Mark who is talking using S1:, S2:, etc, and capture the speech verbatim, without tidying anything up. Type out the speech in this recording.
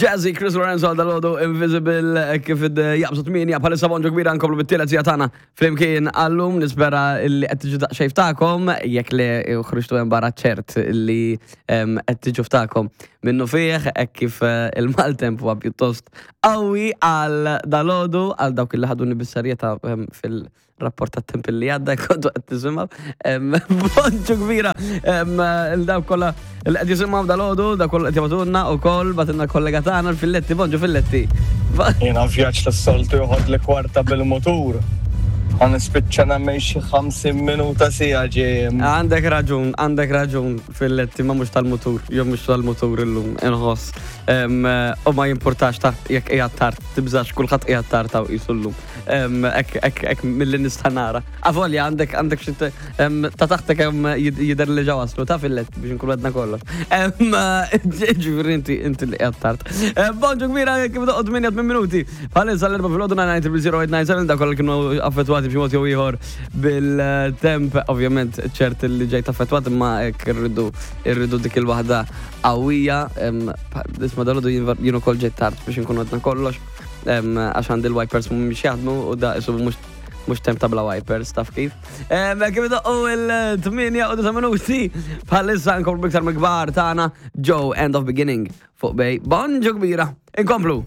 S1: Jazzy Chris Lorenzo għal dalgħodu Invisible eh, kif id jaqbżu tmienja bħalissa. Bonġu kbira, nkomplu bit-tielet siegħa tagħna flimkien għallum. Nispera li qed tiġu daqsxejn ftakom, jekk li ħriġtu hemm barra ċert li em, qed tiġu ftakom minnu fih hekk kif eh, il-maltemp huwa pjuttost qawwi għal dalgħodu. Għal dawk li ħaduni bis-serjetà em, fil-rapport tat-temp li għadda kontu qed tisimgħu. Em, Bonġu kbira em, il-dawk kollha li qed jisimgħu dalgħodu, dawk kollha qed jibagħtulna ukoll, bagħtilna kollega tagħna l-Filletti. Bonġu, Filletti.
S2: Jiena vjaġġ tas-soltu joħod li kwarta bil-motur. Għa nispiċċa nagħmel xi ħamsin minuta, siegħa ġejjem.
S1: Għandek raġun, għandek raġun, Filletti, ma mhux tal-mutur, jew mhux tal-mutur illum, inħoss. Em, U ma jimpurtax taħt jekk qiegħed tard, tibżax, kulħadd qiegħed tard taw qisu llum. Em, Ek ek ek milli nista' nara. Avolja għandek għandek xi te- em, ta' taħtek hemm jid- jidher li ġa waslu ta', Filletti, biex nkunu għedna kollox. Em, Ġifieri inti inti li qiegħed tard. Em, Bonġu kbira, kif doqgħod tmienja minuti. Bħalissa l-erbgħa filgħodu, nine zero zero eight nine seven, dak kollha kienu affettwati b'xi mod jew ieħor bil-temp, ovvjament ċert li ġejt affettwat, imma hekk irridu irridu dik il-waħda qawwija. em, Isma' dalgħodu jien ukoll ġejt tard, biex nkunu għedna kollox, em, għax għandi l-wipers mhumiex jaħdmu u da isu mhux mhux temp ta' bla wipers, taf kif. Em, Kif doqqu il-tmienja u disa' minuti, bħalissa nkomplu biktar mill-kbar tagħna, Joe, End of Beginning, fuq Bay. Bonġu kbira, inkomplu.